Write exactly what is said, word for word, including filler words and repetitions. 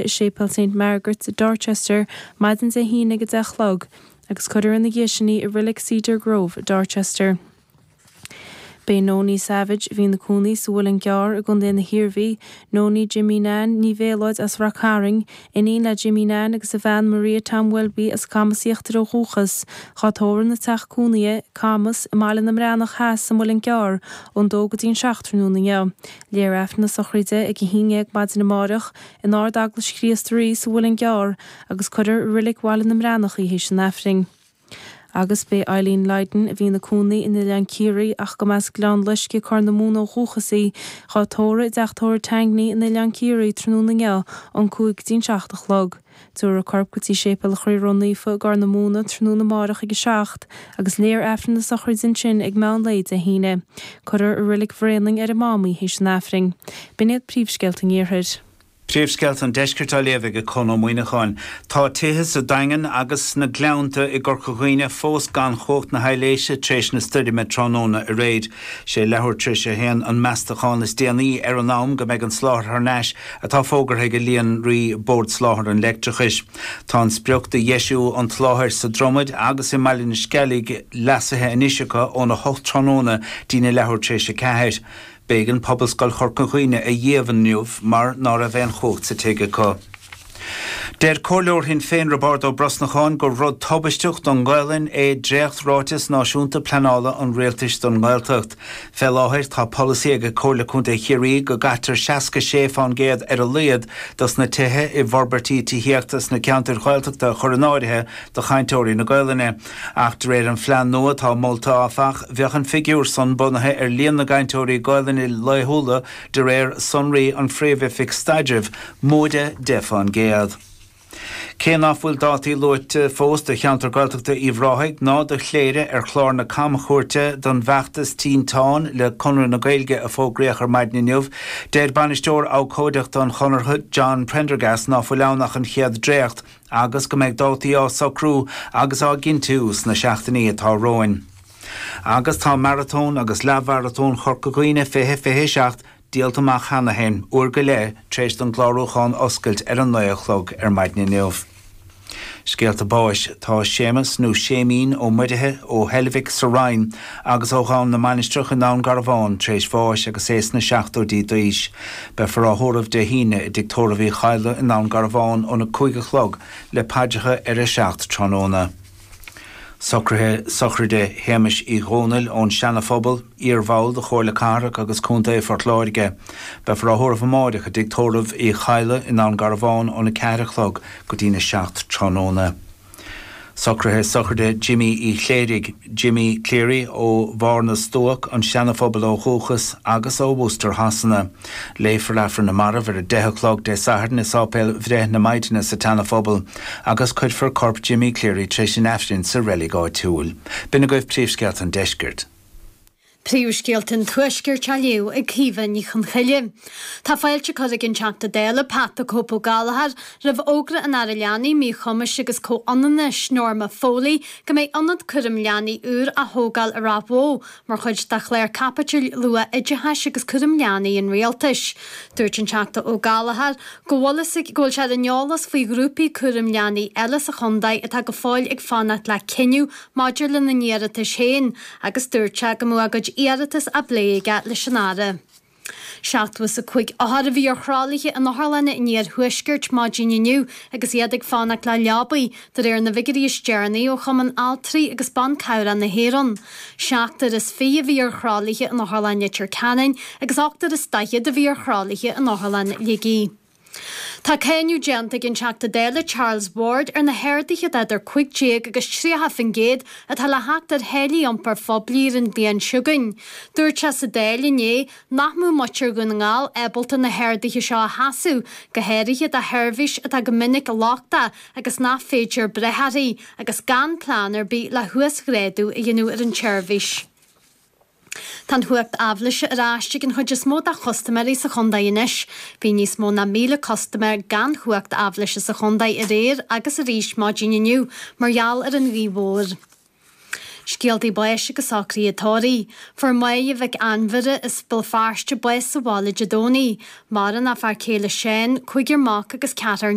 i Séipéal Saint Margaret's i Dorchester maidin Dé hAoine ag a deich a chlog agus cuirfear ina dhiaidh sin í i Reilig Cedar Grove i Dorchester. Beidh Nonie Savage, a bhí ina cónaí sa Mhuileann gCearr i gContae na hIarmhí, Nonie Jimmy Nan Ní Mhéalóid as Rath Cairn, iníon le Jimmy Nan agus a bhean Maria Tom Welby as Camas Íochtair ó dhúchas, dhá tórramh ina teach cónaithe, Camas, i mBaile na mBreathnach Theas sa Mhuileann gCearr, ón dó go dtí an seacht tráthnóna inniu. Léifear Aifreann na sochraide ag a haon déag maidin amárach in Ard-Eaglais Chríost Rí sa Mhuileann gCearr agus cuirfear i Reilig Bhaile na mBreathnach í théis an Aifrinn. Agus beidh Eileen Lydon, a bhí ina cónaí in Oileán Ciarraí ach go mb'as Gleann Loisce Corr na Móna ó dhúchas í, dhá tórramh i dteach tórraimh Tangney in Oileán Ciarraí tráthnóna inniu ón cúig go dtí an seacht a chlog. Tabharfar a corp go dtí Séipéal an Chroí Ró-Naofa i gCorr na Móna tráthnóna amárach ag a seacht agus léifear Aifreann na sochraide ansin ag meán lae Dé hAoine. Cuirfear i Reilig Bhréanainn ar an Mám í théis an Aifrinn. B'in iad príomhscéalta an Iarthair. Príomhscéalta an Deiscirt á léamh ag Conn Ó Muíneacháin. Tá tithe sa Daingean agus sna Gleannta i gCorca Dhuibhne fós gan chumhacht na haibhléise tar éis na stoirme tráthnóna aréir. Sé leathuair tar éis a haon an meastachán is déanaí ar an am go mbeidh an soláthar thar n-ais atá fógartha ag Líonraí Bord Soláthair an Leictreachais. Tá an sprioc do dheisiú an tsoláthair sa Dromaid agus i mBaile na Sceilge leasaithe anois acu óna hocht tráthnóna dtína leathuair tar éis a ceathair. B'éigean Pobalscoil Chorca Dhuibhne a dhíbh inniu mar ná raibh aon chumhacht sa tigh acu. Deir Comhairleoir Shinn Féin Roibeárd Ó Brosnacháin gur rud tubaisteach don Ghaelainn é dréacht-ráiteas náisiúnta pleanála an Rialtais don nGaeltacht. Fé láthair tá polasaí ag Comhairle Contae Chiarraí go gcaitear seasca sé fán gcéad ar a laghad dos na tithe i bhforbairtí tithíochta sna ceantair Ghaeltachta a chur in áirithe do chainteoirí na Gaelainne. Ach de réir an phlean nua atá molta áfach, bheadh an figiúr san bunaithe ar líon na gcainteoirí Gaelainne laethúla de réir sonraí an Phríomh-Oifig Staidrimh, móide deich fán gcéad. Cé ná fuil dátaí luaite fós do cheantar Gaeltachta Uíbh Ráthaigh ná do Chléire ar chlár na camchuairte don bhfeachtas Tinteán le Conradh na Gaeilge a fógraíodh ar maidin inniu, deir bainisteoir abhcóideachta an Chonartha John Prendergast ná fuil ann ach an chéad dréacht agus go mbeidh dátaí á socrú agus á gcinntiú sna seachtainí atá romhainn. Agus tá Maratón agus Leathmharatón Chorca Dhuibhne fiche fiche a seacht díolta amach cheana féin, uair go leith tar éis don gclárúchán oscailt ar an naoi a chlog ar maidin inniu. Scéalta báis, Tá Séamus nó Séimín Ó Muirithe ó Heilbhic sa Rinn agus ó Dhomhan na Mainistreach i nDún Garbhán tar éis bháis agus é sna seachtóidí d'aois. Beifear á thórramh Dé hAoine i dTigh Tórraimh Uí Chadhla i nDún Garbhán óna cúig a chlog le paidreacha ar a seacht tráthnóna. Socruithe sochraide Shéamais Uí Dhónaill ón Seana-Phobal, iar-bhall de Chomhairle Cathrach agus Contae Phort Láirge. Beifear á thórramh amáireach i dTigh Tórraimh Uí Chadhla i nDún Garbhán óna ceathair a chlog go dtína seacht tráthnóna. Socruithe sochraide Jimmy Uí Chléirigh, Jimmy Cleary, ó Bharr na Stuac, an Seana-Phobal ó dhúchas agus ó Worcester Shasana. Léifear Aifreann na Marbh ar a deich a chlog Dé Sathairn i Sáipéal Bhreith na Maighdine sa tSeana-Phobal agus cuirfear corp Jimmy Cleary tar éis an Aifrinn sa reilig áitiúil. B'in agaibh príomhscéalta an deiscirt. Príomhscéalta an Tuaiscirt á léamh ag Caoimhe Ní Chonchoille. Tá fáilte curtha ag an Teachta Dála Pat 'The Cope' Ó Gallchóir roimh fhógra an Aire Leanaí, Míchumais agus Comhionannais, Norma Foley, go mbeidh ionad cúraim leanaí úr á thógáil i Ráth Bhoth mar chuid de chlár caipitil luath-oideachais agus cúraim leanaí an Rialtais. Dúirt an Teachta Ó Gallchóir go bhfuil go bhfuil sé ar an eolas faoi ghrúpaí cúraim leanaí eile sa chontae atá go fóill ag fanacht le cinneadh maidir lena n-iarratais féin agus dúirt sé go mbeadh a gcuid iarratas á bplé aige leis an Aire. Seachtó is a cúig othar a bhí ar thralaithe in otharlanna an iarthuaiscirt maidin inniu agus iad ag fanacht le leabaí, de réir na bhfigiúirí is deireanaí ó Chumann Altraí agus Ban Cabhrach na hÉireann. Seachtar is fiche a bhí ar thralaithe in Otharlann Leitir Ceanainn agus ochtar is daichead a bhí ar thralaithe in Otharlann Shligigh. Tá cáineadh déanta ag an Teachta Dála Charles Ward ar na harduithe d'idir cúig déag agus tríocha faoin gcéad atá le theacht ar tháillí iompair phoiblí ar an bhliain seo chugainn. Dúirt sé sa Dáil inné nach mbeadh muintir Dhún na nGall ábalta na harduithe seo a sheasamh, go háirithe do sheirbhís atá go minic lochtach agus nach féidir breith uirthi, agus gan plean ar bith le huasghrádú a dhéanamh ar an tseirbhís. Tá an chumhacht aibhléise ar ais ag an chuid is mó de chustaiméirí sa chontae anois. Bhí níos mó ná míle custaiméir gan chumhacht aibhléise sa chontae aréir agus arís maidin inniu mar gheall ar an ghaoth mhór. Scéaltaí báis agus socruithe tórraimh. Fuair Máire Mhic Ainmhire as Béal Feirste bás sa bhaile Dé Domhnaigh. Maireann a fear céile Seán, cúigear mac agus ceathrar